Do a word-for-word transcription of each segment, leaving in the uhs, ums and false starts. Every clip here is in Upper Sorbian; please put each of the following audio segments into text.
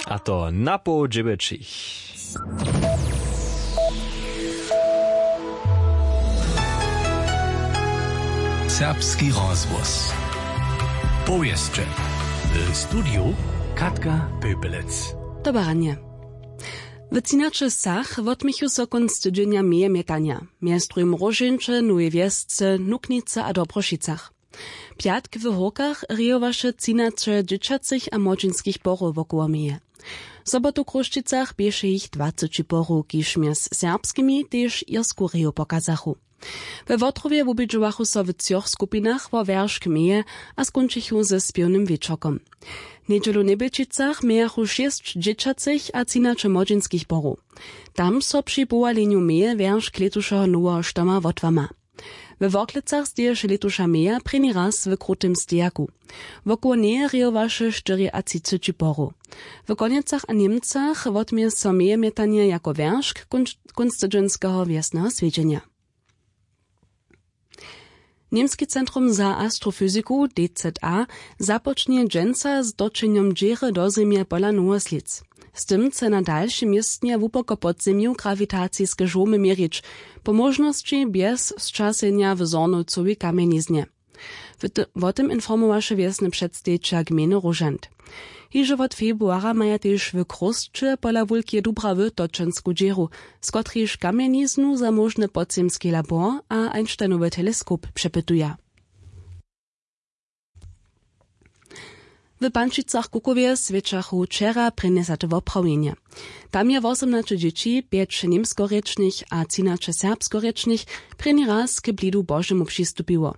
A to na poł dźewjećich. Serbski rozhłos. Powěsće. W studiju Katka Pepelec. Dobre ranje. W třinaće wsach wotměchu so kónc tydźenja meje mjetanja, mjez druhim w Róžeńće, Nowej Wjesce, Nuknicy a Dobrošicach. Pjatk w Hórkach rejowaše třinaće dźěćacych a młodźinskich porow wokoło meje. W sobotu w Chrósćicach běše jich dwaceći porow, kiž mjez serbskimi tež irsku reju pokazachu. We Wotrowje wubědźowachu so w třoch skupinach wo wjeršk meje a skónčichu ze spěwnym wječorkom. Njedźelu w Njebjelčicach mějachu šěsć dźěćacych a třinaće młodźinskich porow. Tam so při powalenju meje wjeršk lětušeho noweho štoma wotłama. We Worklecach steješe lětuša meja prěni raz w krutym stejaku. Wokoło njeje rejowaše štyriatřiceći porow. W Konjecach a Němcach wotměje so meje mjetanje jako wjeršk kónc-, kónc tydźenskeho wjesneho swjedźenja. Němski centrum za astrofyziku, D Z A, započnje dźensa z točenjom dźěry do Zemje pola Nowoslědz. Z tym chce na dalšim městnje hłuboko pod zemju grawitaciske žołmy měrić, po móžnosći bjez sćasenja w Zhornowcowej kamjeniznje. W ty-, wo tym informowaše wjesny předstejićel gmejny Róžant. Hižo wot februara maja tež w Chrósće pola Wulkeje Dubrawy točensku dźěru, z kotrejž kamjeniznu za móžny podzemski labor a Einsteinowy teleskop přepytuja. W Pančicach-Kukowje swjećachu wčera prěnjesate woprawjenje. Tam je wosomnaće dźěći, pjeć němskorěčnych a třinaće serbskorěčnych, prěni raz k blidu Božemu přistupiło.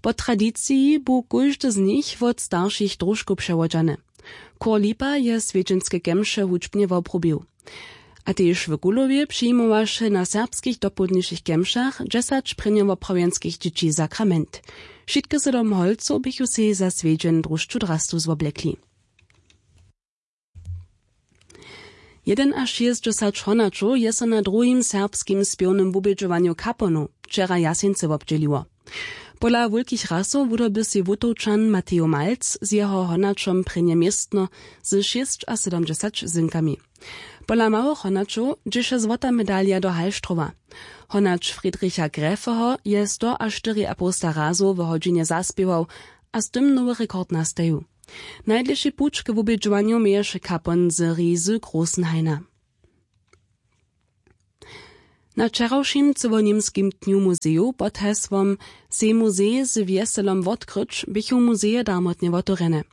Po tradiciji bu kóždy z nich wot staršich dróžkow přewodźany. Chór Lipa je swjedźenske kemše hudźbnje wobrubił. A tež w Kulowje přijimowaše na serbskich dopołdnišich kemšach dźesać prěnjowoprawjenskich dźěći sakrament. Wšitke sydom holcow běchu sej za swjedźeń dróžču drastu zwoblekli. Jedynašěsćdźesać honaćow je so na druhim serbskim spěwnym wubědźowanju Kaponow wčera w Jaseńcy wobdźěliło. Pola wulkich rasow wudoby sej Wutowčan Matejo Malc z jeho honaćom prěnje městno z šěsćasydomdźesać zynkami. Pola małych honaćow dźěše złota medalja do Halštrowa. Honać Friedricha Gräfeho je stoaštyriapołsta razow w hodźinje zaspěwał a z tym nowy rekord nastajił. Najdlěši puć k wubědźowanju měješe Kapon z Rizy Großenhaina. Na wčerawšim cyłoněmskim dnju muzejow pod hesłom „Sej muzej z wjeselom wotkryć“ běchu muzeje darmotnje wotewrjene.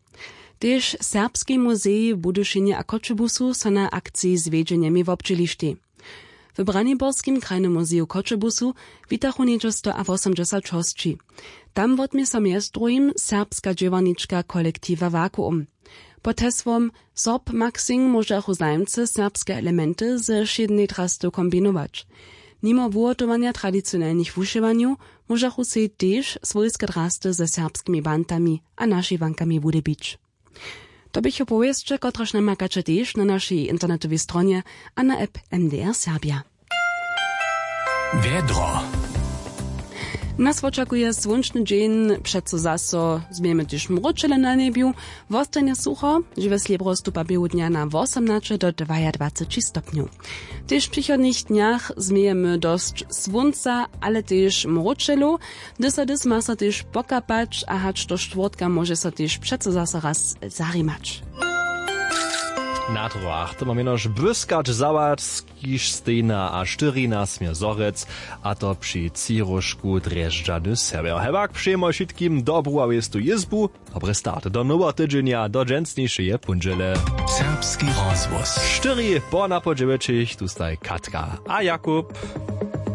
Tež Serbski muzej w Budyšinje a Choćebuzu so na akciji zwjedźenje měj wobdźělištej. W Braniborskim krajnym muzeju w Choćebuzu witachu něhdźe stoawosomdźesać hosći. Tam wotmě so mjez druhim serbska dźěłarnička kolektiwa Vakuum. Pod hesłom „Sorb Maxing“ móžachu zajimcy serbske elementy ze wšědnej drasty kombinować. Nimo wuhotowanja tradicionelnych wušěwanjow móžachu sej tež swójske drasty ze serbskimi bantami a našěwankami wudyrbić. To běchu powěsće, kotrež namakaće tež na našej internetowej stronje a na app M D R Serbia. Wjedro. Nas wočakuje słónčny dźeń, přeco zaso změjemy tež mróčele na njebju. Wostanje sucho, žiwe slěbro stupa běhu dnja na wosomnaće do dwajadwaceći stopnjow. Tež w přichodnych dnjach změjemy dosć słónca, ale tež mróčelow. Hdyž so hdyž ma so tež pokapać a hač do štwórtka móže so tež přeco zaso raz zarimać. Na troach to mam jenož błyskać za was, kiž stejna a štyrina smě zhorjec, a to při třiróžku drježdźany sewjer. Hewak přejemy wšitkim dobru a wěstu jězbu. Dobry start do noweho tydźenja, do dźensnišeje póndźele. Serbski rozhłos. Štyri po napoł dźewjećich, tu staj Katka a Jakub.